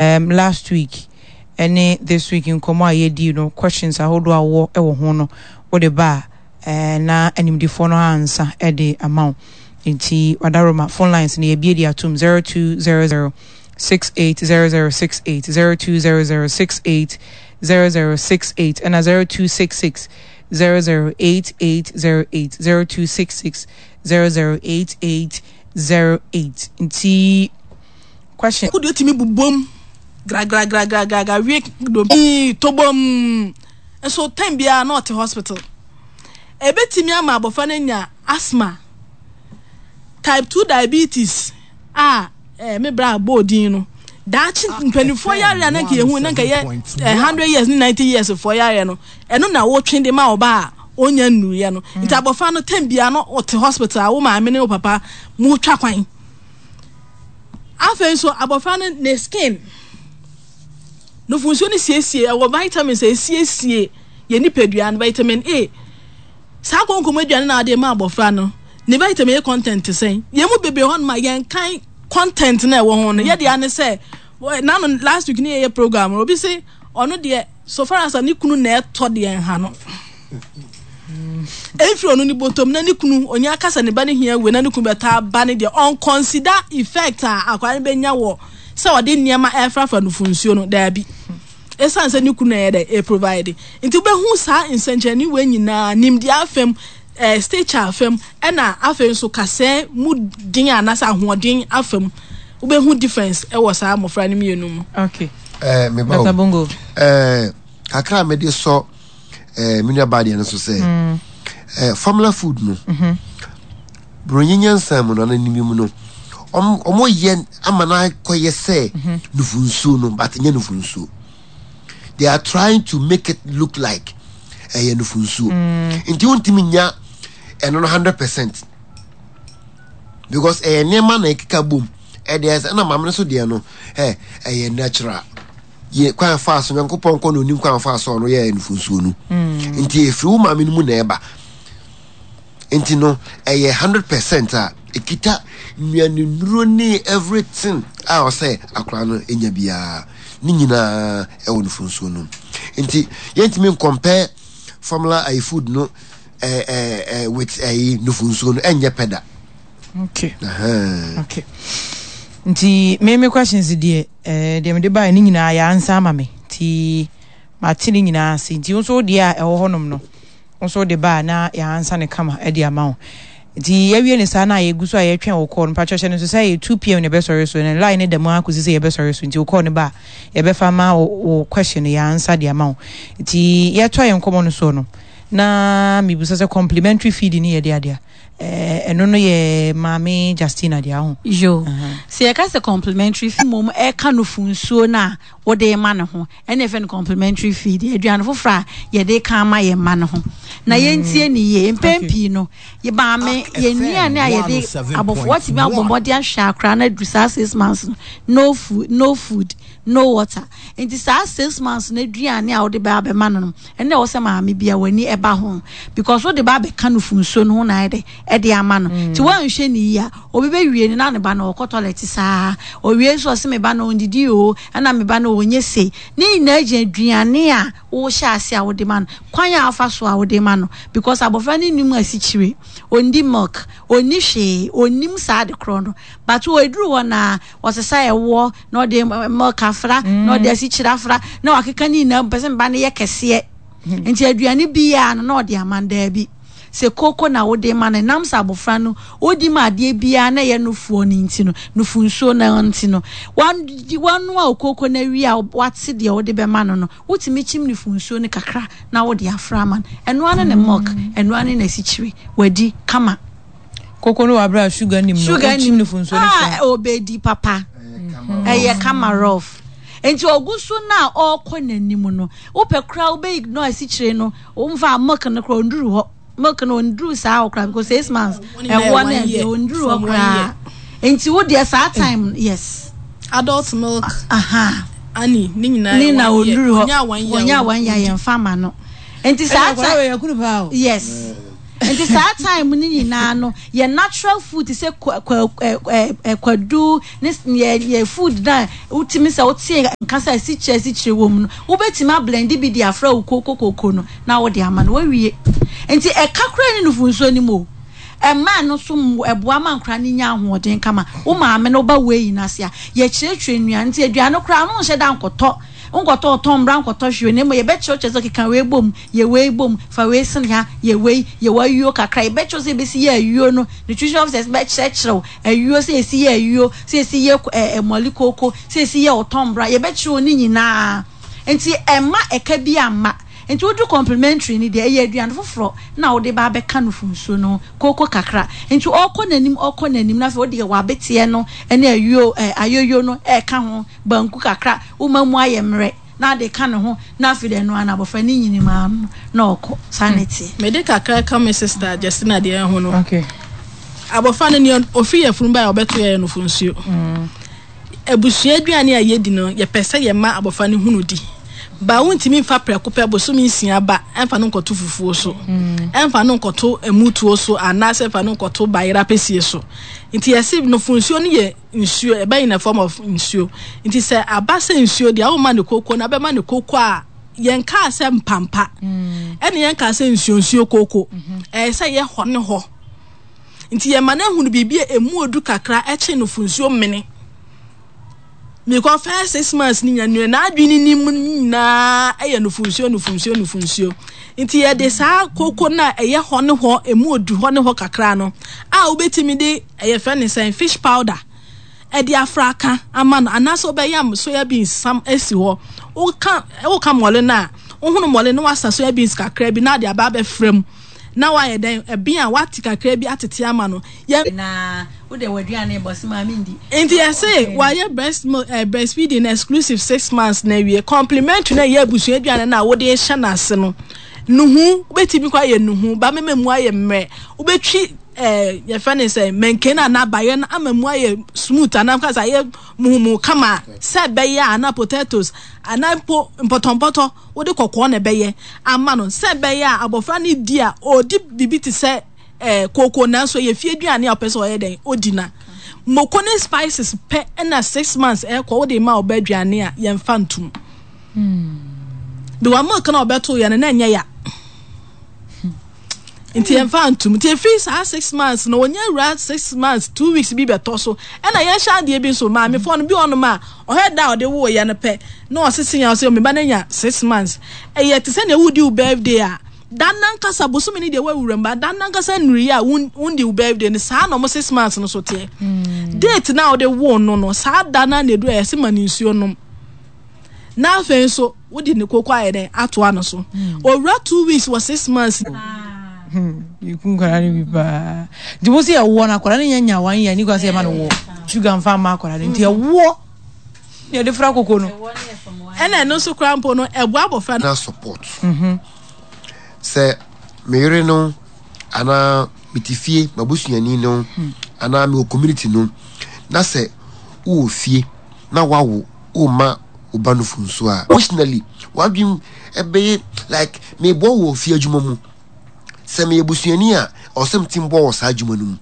Um last week ɛne this week nkɔmmɔ a yɛdii no questions ahodoɔ a wowɔ wɔ ho no wode ba a eh, na animdefoɔ no ansa de ama wo. Nti wadaroma phone lines no yɛbie de atom 0200 680068 0200 680068 ɛna 0266 008808 0266 008808 nti question. Wo deɛ wotumi bobom gragragragragra wie dompe tobom nso time biara na ɔte hospital. Ebetumi ama abɔfra no anya asthma, type 2 diabetes a eh, me bra bɔɔ din no. Daakye mpanimfoɔ yareɛ a na nka yɛhu na nka yɛ eh, 100 years ne 90 years foɔ yareɛ no, ɛno na wotwe de ma ɔba a ɔnya nnuruiɛ no. Nti abɔfra no time biara na ɔte hospital a wo maame ne wo papa motwa kwan. Afei nso abɔfra no ne skin, nufunsuo no siesie, ɛwɔ vitamins a esiesie yɛn nipadua no, vitamin A. Saa konkom aduane na ade ma abɔfra no, ne vitamin A content te sɛn? Yɛn mu bebree hɔ nom a yɛn kan content na ɛwɔ ho no, yɛde ane sɛ, nano last week ne yɛyɛ program, obi se ɔno deɛ so far as ne kunu na ɛtɔ deɛ nha no. Ɛmfiri ɔno ne bɔtɔm na ne kunu ɔnya aka sɛ ne ba no hia wei na ne kunu bɛtɔ aba ne deɛ ɔnconsider effect a akwadaa no bɛnya wɔ sɛ ɔde nneɛma ɛrefrafra nufu nsuo no daabi ɛsiane sɛ ne kunu na ɛyɛ dɛ ɛprovide nti wobɛhu saa nsɛnkyerɛnne wei nyinaa nimdeɛ afam eh, stature afam ɛna afei nso kasɛɛ mu den anaasɛ ahoɔden afam wobɛhu difference ɛwɔ saa mmɔfra no mmienu mu. Okay. Eh, me ba Dr. Bongo. Eh, kakra a mede sɔ eh, me nua baa deɛ no so sɛ mm. eh, formula food no mm -hmm. buronyi nyansa mu no ana nimi mu no ɔmo yɛ ama no akɔyɛ sɛ mhm. nufu nsuo no but nyɛ nufu nsuo they are trying to make it look like ɛyɛ nufu nsuo mm. nti wontumi nya ɛno no 100% because ɛyɛ nneɛma na ɛkeka bom ɛdeɛ ɛsɛ ɛna maame no so deɛ no ɛ ɛyɛ natural yɛ kwan fa so nyankopɔn kɔ na onim kwan fa so ɔno yɛ nufunsuo no mm. nti efiri wo maame no mu na ɛba nti no ɛyɛ 100% a ekita nnuanennuro ne everything a ɔsɛ akora no enya biara ne nyinaa ɛwɔ nufunsuo no nti yɛntumi nkɔmpɛ formula ayi food no ɛɛ ɛɛ with ɛyi nufunsuo no ɛnyɛ pɛ da. Okay. Uh -huh. Okay. Nti me me questions deɛ eh, deɛ mede baeɛ no nyinaa yɛ ansa ama me nti mate ne nyinaa ase nti wo nso wo deɛ a ɛwɔ hɔnom no wo nso wode ba a na yɛansa ne kama de ama wo nti yɛawie ne saa na yɛgu so a yɛtwɛn wo call no mpakyɛ hyɛ no nso sɛ yɛ 2 pm na ɛbɛsɔre so na line no da mu ara kɔsi sɛ yɛbɛsɔre so nti wo call no ba a yɛbɛfa ma wo wo question no yɛansa de ama wo nti yɛtoa yɛn nkɔmmɔ no soɔ no na mebisa sɛ complimentary feed no yɛ de adeɛ Eh, ɛno no yɛ Maame Justina deɛ aho. Yo, sɛ yɛka sɛ complimentary feed mmom ɛka nufu nsuo no a wode ma no ho, ɛna yɛfrɛ no complimentary feed, aduane foforɔ a yɛde ka ama yɛn mma no ho. Na yɛntie ne yie, mpɛn pii no, yɛ maame, yɛn nnuane a yɛde abɔfo, watumi abɔ mmɔden ahwɛ akora no aduru saa 6 months no, no food, no food, no water. Nti saa 6 months no aduane a wode bɛ abɛma no no, Ɛno na ɛwɔ sɛ maame bia w'ani ɛba ho because wode ba abɛka nufu nsuo no ho na ayɛ dɛ ɛde ama no nti mm. woanhwɛ ne yie a obi bɛwie no na ne ba no ɔkɔ toilet saa owie nso ɔse me ba no ɔndidi o ɛna me ba no ɔnyɛ sei ne nyinaa gyina aduane a wohyɛ ase a wode ma no kwan a afa so a wode ma no because abɔfra no nim asikyire ɔndi milk ɔnni hwee ɔnnim saa de korɔ no but ɔduru hɔ na ɔsesa ɛwoɔ na ɔde milk afra na ɔde asikyire afra na wakeka ne nyinaa mpɛ sɛ mba no yɛ kɛseɛ hmm. nti aduane biara no na ɔde ama no daabi sɛ koko na wode ma no nam sɛ abɔfra no wodi ma adeɛ biara na ɛyɛ nufoɔ no nti no nufu nsuo no nti no wanoa okoko no awie a wate deɛ wode bɛma no no wotumi kyim nufu nsuo no kakra na wode afra ama no ɛnoa ne ne milk ɛnoa ne n'asikyire wadi kama. Koko no wɔ abere a sugar nim no, sugar nim no funsuo no ah, obedi papa. Ɛyɛ kama rough. Nti ogu so na ɔkɔ n'anim no, wopɛ koraa wobɛ ignore asikyire no, womfa milk no koraa onduru hɔ. Milk no onduru saa hɔ koraa because 6 months ɛwɔ no ɛdeɛ onduru hɔ koraa. Nti wo deɛ saa time yes. Adult milk. Aha. Ani ne nyinaa ne na onduru hɔ. Wɔnya 1 year yɛn fa ma no. Nti saa time. Yes. Nti saa time no nyinaa no yɛ natural food te sɛ kwa kwa ɛ ɛ kwadu ne yɛ yɛ food na wotumi sɛ wote nka sɛ asikyire asikyire wɔ mu no wobɛtumi ablende bi de afra wo koko koko no na wode ama no wawie. Nti ɛka koraa ne nufu nsuo no mu o. Ɛma ɛno nso ɛboa ma nkwadaa no nya ahoɔden kama. Wo maame no ba wei no ase a yɛkyerɛkyerɛ nnuane nti aduane koraa no nhyɛ da nkɔtɔ nkɔtɔ ɔtɔn mbra nkɔtɔ hwee na mmom yɛbɛkyerɛkyerɛ sɛ keka wei bom yɛ wei bom fa wei sene ha yɛ wei yɛ w'ayuo kakra yɛbɛkyerɛ sɛ yɛbɛsi yɛ ayuo no nutrition officers bɛkyerɛkyerɛ wo ayuo sɛ yɛsi yɛ ayuo sɛ yɛsi yɛ ɛɛ mɔle kooko sɛ yɛsi yɛ ɔtɔn mbra yɛbɛkyerɛ wo ne nyinaa nti ɛma ɛka bi amma nti wodu complimentary no deɛ ɛyɛ aduane foforɔ na wode ba abɛka nufu nsuo no kooko kakra nti ɔkɔ n'anim ɔkɔ n'anim na afei wode w'abeteɛ no ne ayuo ɛɛ ayoyo no ɛɛka ho banku kakra, woma mu ayɛ mmerɛ na ade ka ne ho na afei deɛ ɛno ara no abɔfra no nyini maa no na ɔkɔ. Saa na ɛteɛ. Mede kakra ka me sister Justina deɛ ho no. Okay. Abɔfra no nea ofiri yafunu bae a ɔbɛto yɛ no nsuo. Mm. Abusua aduane a yɛdi no yɛpɛ sɛ yɛma abɔfra no hunu di. Ba wontumi mfa prɛko pɛ bosome nsia ba ɛmfa no nkɔto fufuo so. Mm. Ɛmfa no nkɔto emutuo so anaasɛ ɛmfa no nkɔto bayera pɛsie so. Nti yɛse nofonsuo no yɛ nsuo ɛbɛ in a form of nsuo nti sɛ aba sɛ nsuo deɛ woma ne koko na bɛma ne koko a yɛn kaa sɛ mpampa mm. ɛne yɛn kaa sɛ nsuo nsuo koko mm-hmm. ɛyɛ sɛ yɛ hɔ ne hɔ nti yɛn ma no ehunu biribi a emu odu kakra ɛkye no fo nsuo mene because first 6 months ni nya nua n'adwene ni mu nyinaa ɛyɛ nufu nsuo nufu nsuo nufu nsuo nti yɛde saa koko na ɛyɛ hɔ ne hɔ emu odu hɔ ne hɔ kakra no a wobɛtumi de Ɛyɛ fɛ ne sɛn? Fish powder ɛde afra aka ama no anaasɛ wobɛyam soya beans sam asi hɔ. Woka woka mɔle no a, wohono mɔle no wasa soya beans kakra bi na ade aba abɛfra mu na wayɛ dɛn ɛben a wate kakra bi atete ama no. Yɛ Na wode w'aduane bɔ se maame ndi. Nti yɛse wayɛ breast milk eh, breastfeeding exclusive 6 months na awie. Complimentary na ɛyɛ abusua aduane no a wode rehyɛ n'ase no. Nuhu, wobɛtumi kɔ ayɛ nuhu, ba mɛma mu ayɛ mmerɛ. Wobɛtwi eh, yɛfrɛ ne sɛ mɛnken anaa bayerɛ no ama mu ayɛ smooth anaa kasa ayɛ muhumu kama sɛ ɛbɛyɛ a anaa potatoes anaa mpo mpɔtɔmpɔtɔ wode kɔkɔɔ na ɛbɛyɛ ama no sɛ ɛbɛyɛ a abɔfra no di a ɔdi biribi te sɛ eh, kooko nanso ɛyɛ fie aduane a ɔpɛ sɛ ɔyɛ dɛn ɔdi na moko ne spices pɛ ɛna 6 months ɛkɔ wode ma ɔbɛ aduane a yɛmfa ntom because milk na ɔbɛto yɛ no na ɛnyɛ ya nti yɛmfa ntom nti efiri saa 6 months na onye wura 6 months 2 weeks bi bɛtɔ so ɛna yɛnhyɛ adeɛ bi nso maamefoɔ no bi wɔ nom a ɔhɛ da a ɔde woo yɛ no pɛ na ɔsese yɛn ɔsɛ ɔmeba no nya 6 months. Ɛyɛ te sɛ nea wodi wo birthday a dan nankasa bosome ne deɛ wawura mu ba dan nankasa nnuri a wondi wo birthday no saa na ɔmo 6 months no so teɛ. Date na ɔde woo no no saa da no na edu a yɛsɛ ma ne nsuo nom na afei nso wode ne koko ayɛ dɛn atoa no so. Owura 2 weeks wɔ 6 months. Yɛku nkwadaa no bi paa nti mo sɛ yɛwoɔ no akwadaa no nya nya 1 year ni kwa sɛ yɛma no woɔ sugar mfa mma akwadaa no nti ɛwoɔ ne yɛde fra koko no. Ɛna ɛno nso koraa mpo no ɛboa abɔfra no. Na support sɛ me yere no anaa mete fie m'abusuani no anaa mewɔ community no na sɛ wowɔ fie na wawo woma wo ba no funso a emotionally w'adwene ɛbɛyɛ like meboa wɔ fie adwuma mu sɛ meyɛ busuani a ɔwɔ sɛ metim boa wɔ saa adwuma no mu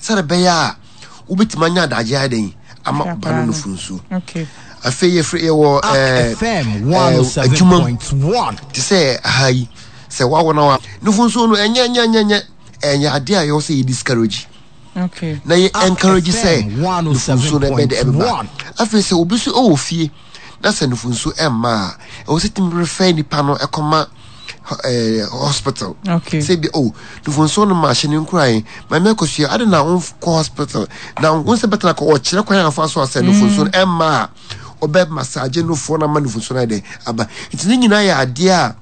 sɛde bɛyɛ a wobɛtumi anya adagye ayɛ dɛn ama wo ba no no funso. Afei yɛfrɛ yɛwɔ ɛɛ adwuma mu te sɛ aha yi sɛ wawo na wa nufunsuo no ɛnyɛ nyɛ nyɛ nyɛ ɛnyɛ adeɛ a yɛwɔ sɛ yɛ discourage. Na yɛ encourage sɛ nufunsuo no ɛbɛ de ɛbɛba. Afei sɛ obi so ɛwɔ fie na sɛ nufunsuo ɛmma a ɛwɔ sɛ tumi refer nipa no ɛkɔma ɛɛ hospital. Sɛ bi oh nufunsuo no ma ahyɛ ne nkuran maame akosua ade na wɔn kɔ hospital na wɔn sɛ bɛtena kɔ ɔkyerɛ kwan afa so asɛ nufunsuo no ɛmma a ɔbɛ massage nufoɔ no ama nufunsuo no ayɛ dɛ aba. Nti ne nyinaa yɛ adeɛ a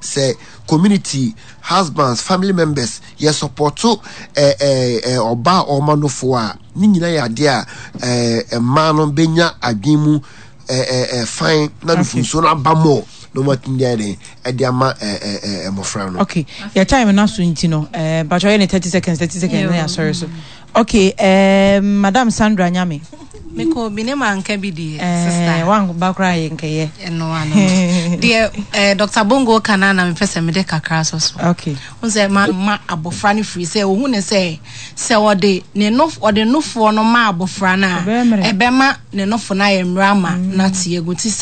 sɛ community husbands family members yɛ supporto ɛɛ ɛɛ ɔbaa a ɔma nofoɔ a ne nyinaa yɛ adeɛ a ɛɛ mmaa no bɛnya adwene mu ɛɛ ɛɛ fan na nufunsuo no aba mɔ na wɔn atumi de ayɛ dɛn ɛde ama ɛɛ ɛɛ mmɔfra no. Okay, yɛ time na so nti no ɛɛ mpatwa yɛ ne 30 seconds 30 seconds na yɛ asɔre so. Okay, um, Madam Sandra Nyame. Mekɔ bi ne manka bi deɛ, eh, sister. Wan ba koraa yɛ nkɛyɛ. Ɛno ano. Deɛ eh, Dr. Bongo ka na na mepɛ sɛ mede kakra so so. Okay. Wo sɛ ma ma abɔfra no firi sɛ ohun ne sɛ sɛ ɔde ne no ɔde nofoɔ no ma abɔfra no a ɛbɛma ne nofo no ayɛ mmerɛ ama mm. n'ate agu ti.